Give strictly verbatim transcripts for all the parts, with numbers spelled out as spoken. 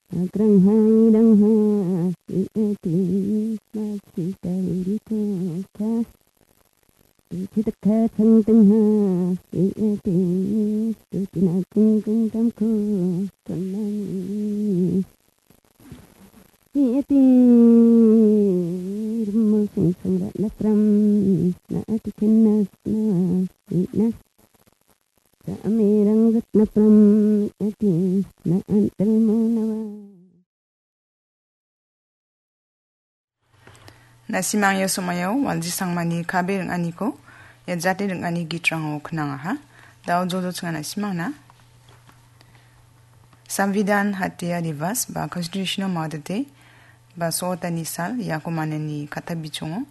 Agrangha irangha, iati, masi tauriko ka. Ichitakha changtengha, iati, tutina chingkeng tamko, konani. Iati, rumo sing sing ratna pram, na ati kenna sna, ina. Sa amirang ratna pram, iati, na antal mo nawa. Na·simang ia somoio Walji Sangmani K B ring·aniko ia jate ring·ani gitrango knangaha. Da·o joljochinga na·simangna Samvidhan Hatya Divas ba Constitutional Mother Day ba so·otani sal iako manani katabichongo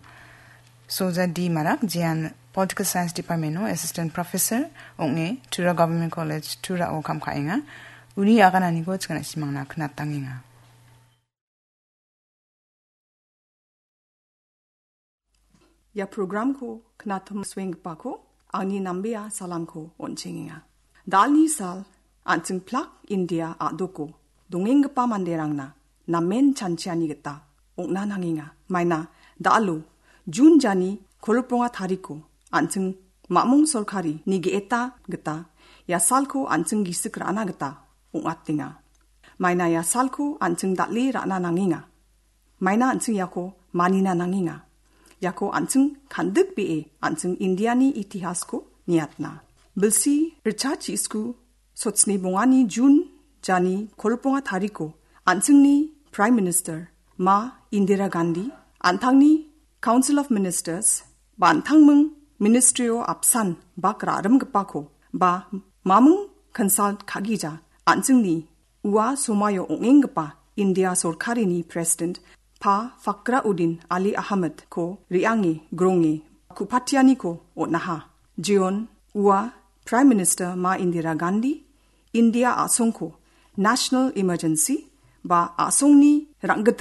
Soja D Marak, jean Political Science Department-o Assistant Professor ong·e Tura Government College, Tura-o kam ka·enga. Uni agananiko chikana simangna knatangenga. Ia programko knatam suenggipako angni nambea salamko on·chengenga. Dalni sal an·ching plak India a·doko dongenggipa manderangna namen chanchiani gita ong·na nangenga. Maina dalo Jun jani kolbonga tariko an·ching mamung sorkari nigeta gita ia salko an·ching gisik ra·na gita ong·atenga. Maina ia salko an·ching dal·e ra·na nangenga. Maina an·ching iako manina nangenga. Iako an·ching kandikbee an·ching Indiani itihasko niatna. Bilsi richa chisku sotsni bongani Jun jani kolbonga tariko an·chingni Prime Minister Ma Indira Gandhi, an·tangni Council of Ministers, ba an·tangming Ministry-o apsan bak ra·rimgipako ba mamung consult ka·gija an·chingni ua somaio ong·enggipa India sorkarini President Pa Fakhruddin Ali Ahmedko re·ange gronge ku·patianiko on·aha. Jeon ua Prime Minister Ma Indira Gandhi India a·songko National Emergency ba a·songni rang·git